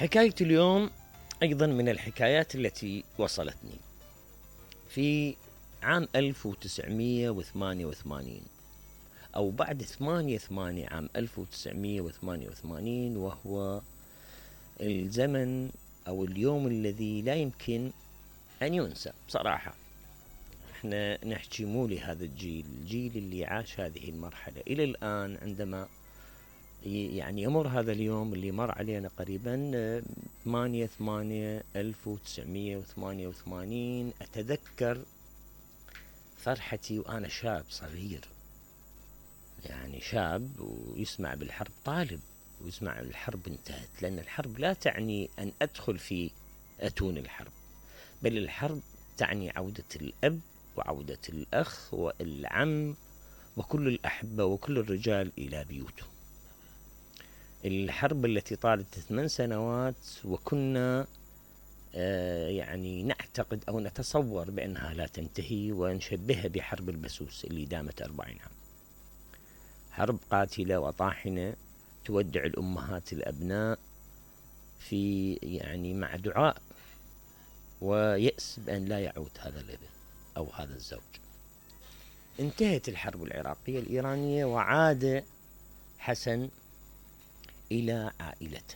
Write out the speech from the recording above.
حكاية اليوم أيضا من الحكايات التي وصلتني. في عام 1988 أو بعد 8/8 عام 1988، وهو الزمن أو اليوم الذي لا يمكن أن ينسى بصراحة. احنا نحكي مو لهذا الجيل اللي عاش هذه المرحلة إلى الآن، عندما يعني يمر هذا اليوم اللي مر علينا قريبا 8/8/1988، أتذكر فرحتي وأنا شاب صغير، يعني شاب ويسمع بالحرب، طالب ويسمع الحرب انتهت. لأن الحرب لا تعني أن أدخل في أتون الحرب، بل الحرب تعني عودة الأب وعودة الأخ والعم وكل الأحبة وكل الرجال إلى بيوتهم. الحرب التي طالت 8 سنوات وكنا يعني نعتقد أو نتصور بأنها لا تنتهي، ونشبهها بحرب البسوس اللي دامت 40 عام. حرب قاتلة وطاحنة تودع الأمهات الأبناء في يعني مع دعاء ويأس بأن لا يعود هذا الابن أو هذا الزوج. انتهت الحرب العراقية الإيرانية وعاد حسن إلى عائلته.